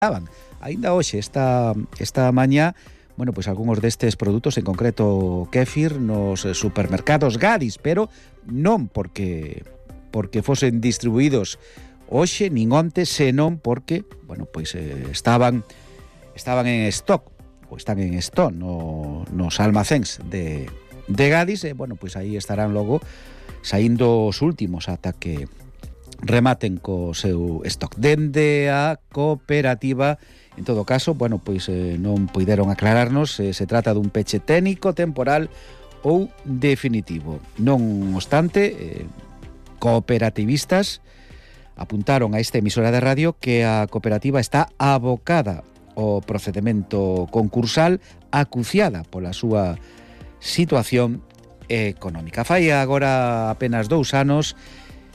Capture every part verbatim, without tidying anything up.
estaban. Aínda hoxe, esta, esta mañá, bueno, pois algúns destes produtos, en concreto kéfir, nos supermercados Gadis, pero non porque porque fosen distribuídos hoxe, nin onte, senón porque, bueno, pois eh, estaban estaban en stock, ou están en stock no, nos almacéns de, de Gadis, e, bueno, pois aí estarán logo saindo os últimos ata que rematen co seu stock. Dende a cooperativa, en todo caso, bueno, pois eh, non puideron aclararnos se se trata dun peche técnico, temporal ou definitivo. Non obstante, eh, cooperativistas apuntaron a esta emisora de radio que a cooperativa está abocada ao procedemento concursal, acuciada pola súa situación económica. Fai agora apenas dous anos,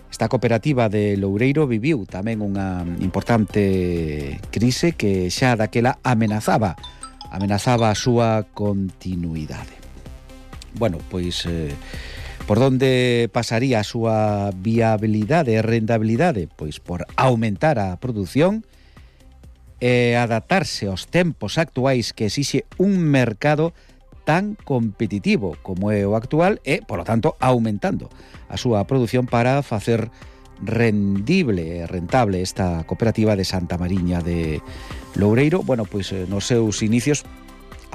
esta cooperativa de Loureiro viviu tamén unha importante crise que xa daquela amenazaba amenazaba a súa continuidade. Bueno, pois eh, por onde pasaría a súa viabilidade e rentabilidade? Pois por aumentar a produción e adaptarse aos tempos actuais que exixe un mercado tan competitivo como é o actual e, por lo tanto, aumentando a súa produción para facer rendible e rentable esta cooperativa de Santa Mariña de Loureiro. Bueno, pois nos seus inicios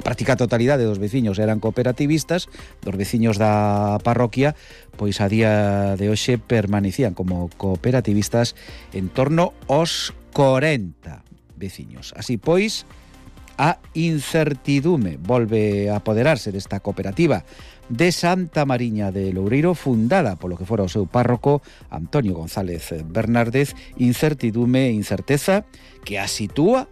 a práctica totalidade dos veciños eran cooperativistas, dos veciños da parroquia, pois a día de hoxe permanecían como cooperativistas en torno aos corenta veciños. Así pois, a incertidume volve a apoderarse desta cooperativa de Santa Mariña de Loureiro, fundada polo que fora o seu párroco Antonio González Bernárdez. Incertidume e incerteza que a sitúa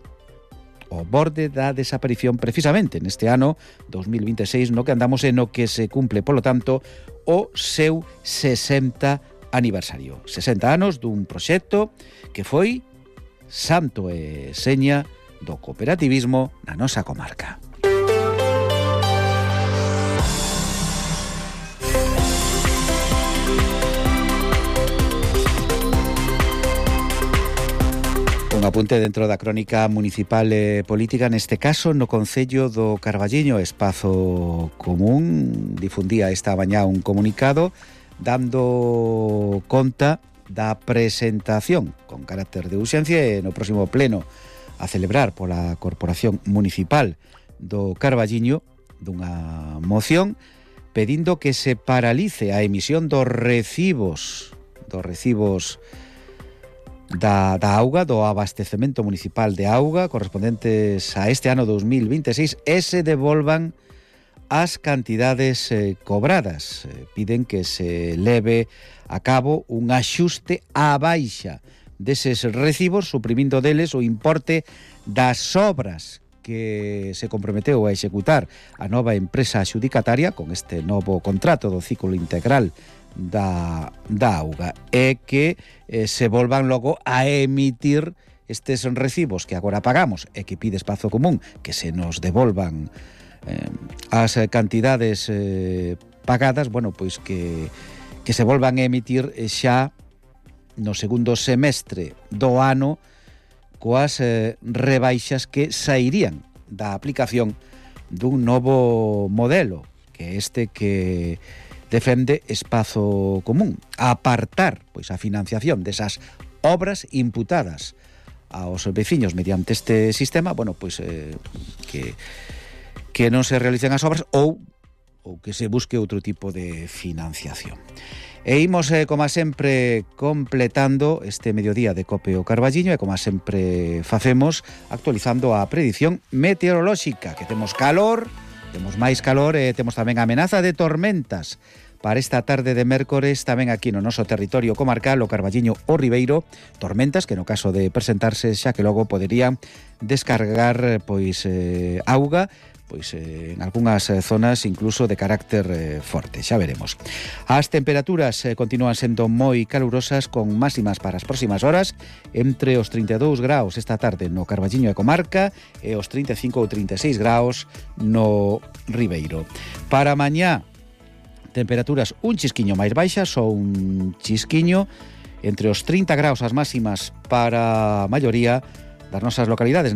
ao borde da desaparición precisamente neste ano dos mil vinte e seis, no que andamos e no que se cumple, polo tanto, o seu sesenta aniversario. sesenta anos dun proxecto que foi santo e seña do cooperativismo na nosa comarca. Un apunte dentro da crónica municipal e política, neste caso no concello do Carballiño. Espazo Común difundía esta mañá un comunicado dando conta da presentación con carácter de urxencia e no próximo pleno a celebrar pola Corporación Municipal do Carballiño dunha moción pedindo que se paralice a emisión dos recibos dos recibos Da, da auga, do abastecemento municipal de auga correspondentes a este ano dos mil vinte e seis e se devolvan as cantidades eh, cobradas. Eh, piden que se leve a cabo un axuste á baixa deses recibos, suprimindo deles o importe das obras que se comprometeu a executar a nova empresa adxudicataria con este novo contrato do ciclo integral da, da auga, e que eh, se volvan logo a emitir estes recibos que agora pagamos e que pide Espazo Común que se nos devolvan eh, as cantidades eh, pagadas, bueno, pois que, que se volvan a emitir xa no segundo semestre do ano coas eh, rebaixas que sairían da aplicación dun novo modelo, que este que defende Espazo Común, apartar pois a financiación desas obras imputadas aos veciños mediante este sistema, bueno, pois eh, que que non se realicen as obras ou ou que se busque outro tipo de financiación. E imos, eh, como sempre, completando este mediodía de Cope o Carballiño e como sempre facemos, actualizando a predición meteorolóxica, que temos calor, temos máis calor e temos tamén amenaza de tormentas para esta tarde de mércores tamén aquí no noso territorio comarcal, o Carballiño o Ribeiro, tormentas que no caso de presentarse xa que logo poderían descargar pois eh, auga, pois eh, en algunhas eh, zonas incluso de carácter eh, forte, xa veremos. As temperaturas eh, continúan sendo moi calurosas con máximas para as próximas horas entre os trinta e dous graus esta tarde no Carballiño e comarca e os trinta e cinco ou trinta e seis graus no Ribeiro. Para mañá, temperaturas un chisquiño máis baixas ou un chisquiño entre os trinta graus as máximas para a maioría das nosas localidades.